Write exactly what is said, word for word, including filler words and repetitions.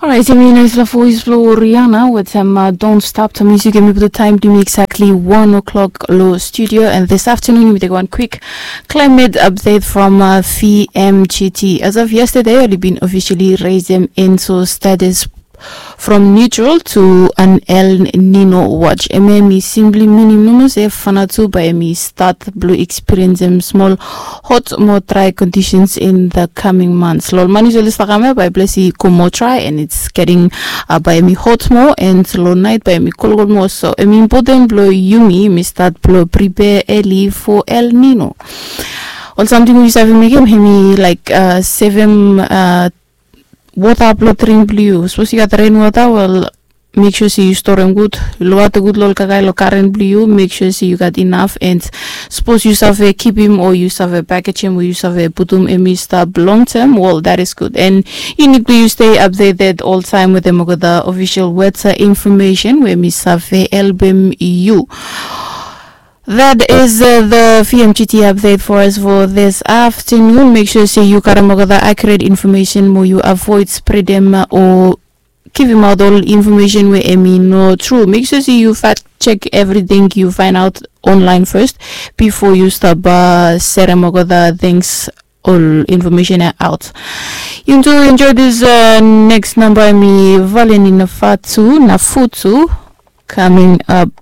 Alright, yumi naisfala voes blong Rihanna wetem uh, Don't Stop the Music. Yumi putum taem blong yumi exactly one o'clock long studio, and this afternoon yumi take one quick climate update from uh, V M G T. As of yesterday, oli bin officially raisem ENSO status from neutral to an El Nino watch. Hemia hemi simply minim nomo se Vanuatu bae hemi start blong experiencem smol hot mo dry conditions in the coming months. Long ol man yus oli stap kam ia, bae ples i go mo dry and it's getting uh, bae hemi hot mo, and long naet bae hemi kolkol mo. So hemi important blong yumi yumi start blong prepare early for El Nino. Ol samting we yu save mekem hemi like uh, sevem uh, wota blong dring blong yu. Sapos yu gat rainwota, wel, make sure se yu storem gud. Yu lowata gud long ol kakae long garen blong yu, make sure se yu gat inaf, and sapos yu save kipim o yu save pakejem o yu save putum hemi stap long tem, wel, that is good. And yu nid blong yu stay updated oltaem wetem olgeta official weather information we hemi save helpem yu. That is uh, the V M G T update for us for this afternoon. Make sure se yu karem olgeta accurate information mo yu avoid spreadem uh, o givimaot ol information we hemi no tru. Make sure se yu fact check everything yu find out online first before yu stap uh, serem olgeta things, ol information ia out. Yu tu enjoy this uh, next number, hemi Valeni Nafatu Nafutu coming up.